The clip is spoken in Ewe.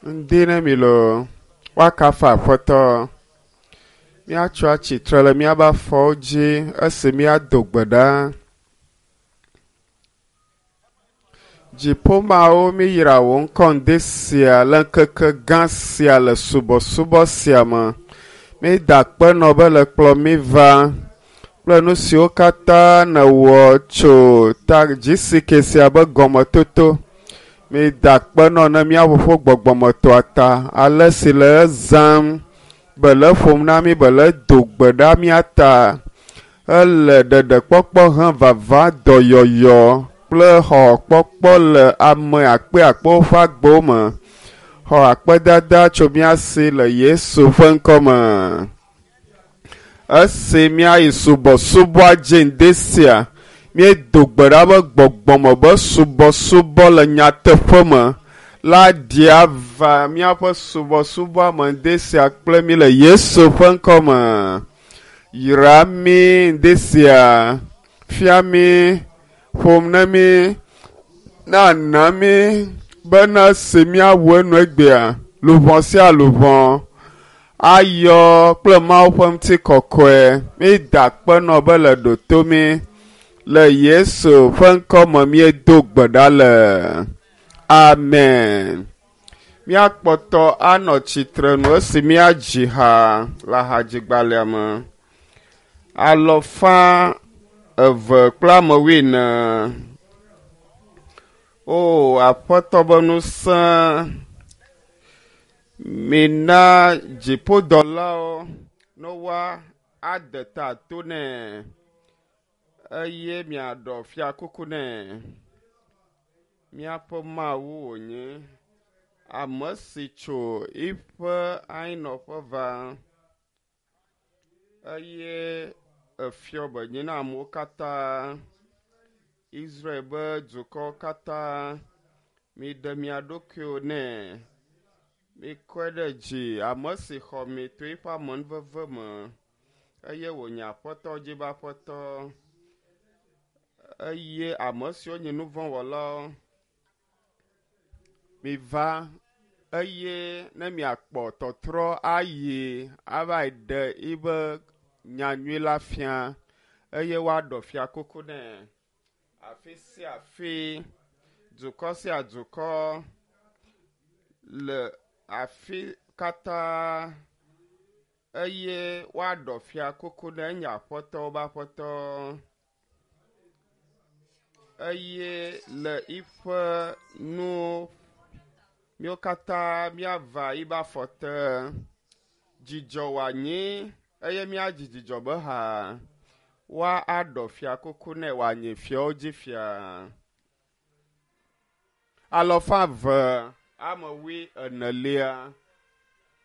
Ŋdi ne mi loo, woakafu Aƒetɔ. Míatso atsitre le míaƒe afɔwo dzi esi míado gbe ɖa. Dziƒomawo míyra wò ŋkɔ ŋdi sia le ŋkeke gã sia le subɔsubɔ sia me. Mída akpe nɔ be le kplɔ mí va kple nu siwo katã nèwɔ tso ta GCK sia be gɔmetoto. Mida akpe nɔ ne mía Fofo gbɔgbɔmetɔa ta ale si le ezãm be le eƒom na mí be le do gbe ɖa mía ta. Ele ɖeɖekpɔkpɔ hem vava dɔyɔyɔ kple xɔxɔkpɔkpɔ le ame akpeakpewo ƒe agbewo me. Xɔ akpedada tso mía si le Yesu ƒe ŋkɔ me. Esi míayi subɔsubɔa dzi ŋdi sia, míedo gbe ɖa be gbɔgbɔme be subɔsubɔ le nyateƒe me la ɖi ava míaƒe subɔsubɔa me ŋdi sia kple mí le Yesu ƒe ŋkɔ me. Yra mí ŋdi sia, fia mí, ƒom ne mí, na mí bena esi míawu enu egbea, luʋɔ sia luʋɔ ayɔ kple Mawu ƒe ŋutikɔkɔe. Mída akpe nɔ be le ɖoto mí. Le Yesu ƒe ŋkɔ me míedo gbe ɖa le. Amen. Míakpɔtɔ anɔ tsitrenu esi míadzi ha le hadzigbalẽa me. Alɔfa eve kple ame wuiene. O Aƒetɔ be ŋusẽ, mina dziƒodɔlawo ne woade ta to nɛ eye miaɖɔ fiakuku nɛ. Míaƒe Mawu wònye, ame si tso eƒe anyinɔƒe va eye efiɔ be nyi na amewo katã, Israel be dukɔwo katã. Miɖe mia ɖokuiwo nɛ. Mikɔe ɖe dzi, ame si xɔ mi to eƒe amenuveve me eye wònye Aƒetɔ dzi be Aƒetɔ eye ame siwo nye nu vɔ̃ wɔlawo miva eye ne miakpɔ tɔtrɔ ayi ava yi ɖe yibe nyanyui la fia eye woaɖɔ fiakuku nɛ. Afi sia afi, dukɔ sia dukɔ le afi katã eye woaɖɔ fiakuku nɛ enye Aƒetɔwo be Aƒetɔ. Eye le yiƒe nu míwo katã míava yibe afɔ te. Dzidzɔ wòanyi eye míadzi dzidzɔ be ha. Woaɖɔ fiakuku nɛ wòanyi fiawo dzi fia. Alɔfa eve ame wui enelia.